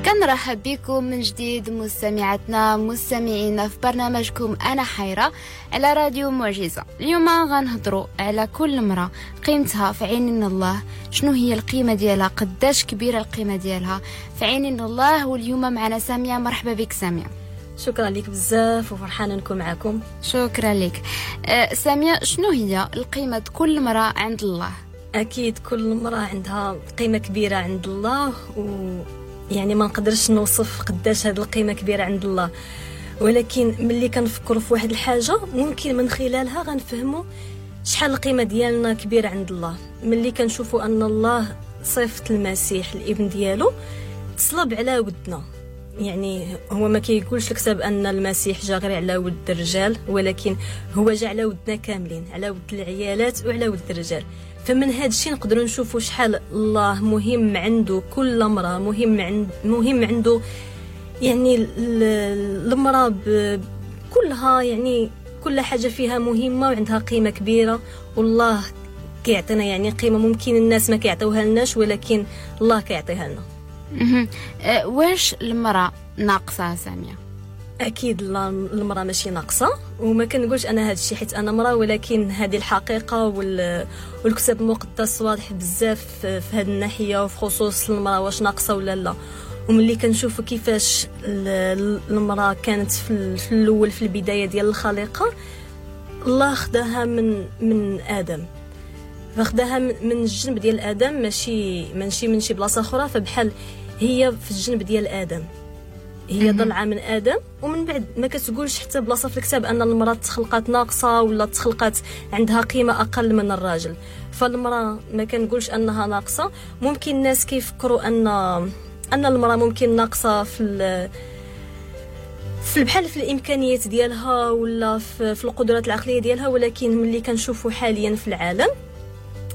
كنرحب بكم من جديد مستمعاتنا مستمعينا في برنامجكم أنا حيرة على راديو معجزة. اليوم غنهضروا على كل امرأة قيمتها في عين الله، شنو هي القيمة ديالها، قداش كبيرة القيمة ديالها في عين الله. واليوم معنا سامية. مرحبا بك سامية. شكرا لك بزاف وفرحانة نكون معكم. شكرا لك. سامية، شنو هي القيمة كل امرأة عند الله؟ أكيد كل امرأة عندها قيمة كبيرة عند الله، يعني ما نقدرش نوصف قداش هذه القيمة كبيرة عند الله، ولكن ملي كنفكروا في واحد الحاجة ممكن من خلالها غنفهموا شحال القيمة ديالنا كبيرة عند الله. ملي كنشوفوا ان الله صيفط المسيح الابن ديالو تصلب على ودنا، يعني هو ما كيقولش الكتاب ان المسيح جا غير على ود الرجال، ولكن هو جا على ودنا كاملين، على ود العيالات وعلى ود الرجال. فمن هذا الشيء نقدروا نشوفوا شحال الله مهم عنده كل امرأة، مهم عنده يعني المرأة كلها، يعني كل حاجة فيها مهمة وعندها قيمة كبيرة، والله كيعطينا يعني قيمة ممكن الناس ما كيعطيوها لناش، ولكن الله كيعطيها لنا. واش المرأة ناقصة سامية؟ اكيد المرأة ماشي ناقصة، وما كنقولش انا هذا الشيء حيت انا مرأة، ولكن هذه الحقيقة والكتاب المقدس واضح بزاف في هذه الناحية، وفي خصوص المرأة واش ناقصة ولا لا. وملي كنشوفوا كيفاش المرأة كانت في الاول في البداية ديال الخليقة، الله خداها من آدم، فخداها من الجنب ديال آدم، ماشي من شي بلاصة أخرى. فبحال هي في الجنب ديال آدم، هي ضلعة من آدم. ومن بعد ما كتقولش حتى بلاصة في الكتاب أن المرأة تخلقات ناقصة ولا تخلقات عندها قيمة أقل من الراجل. فالمرأة ما كنقولش أنها ناقصة. ممكن الناس كيفكروا أن المرأة ممكن ناقصة في بحال في الإمكانيات ديالها ولا في القدرات العقلية ديالها، ولكن ملي كنشوفوا حاليا في العالم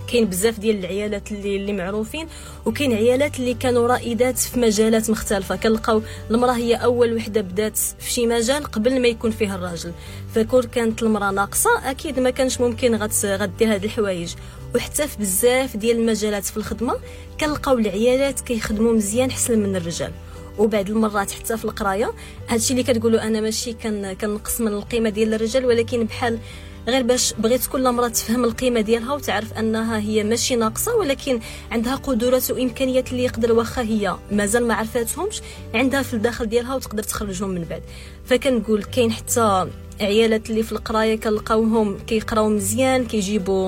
كاين بزاف ديال العيالات اللي معروفين، وكاين عيالات اللي كانوا رائدات في مجالات مختلفة. كنلقاو المراة هي اول وحده بدات في شي مجال قبل ما يكون فيها الراجل. فكون كانت المراة ناقصه اكيد ما كانش ممكن غدير هاد الحوايج. وحتى في بزاف ديال المجالات في الخدمة كنلقاو العيالات كيخدموا مزيان حسن من الرجال. وبعض المرات حتى في القراية، هادشي اللي كتقولوا انا ماشي كنقص من القيمة ديال الرجال، ولكن بحال غير باش بغيت كل امراة تفهم القيمة ديالها وتعرف انها هي ماشي ناقصه، ولكن عندها قدرات وامكانيات اللي يقدر واخا هي مازال ما عرفاتهمش عندها في الداخل ديالها وتقدر تخرجهم من بعد. فكنقول كاين حتى عيالات اللي في القراية كنلقاوهم كيقراو مزيان، كيجيبوا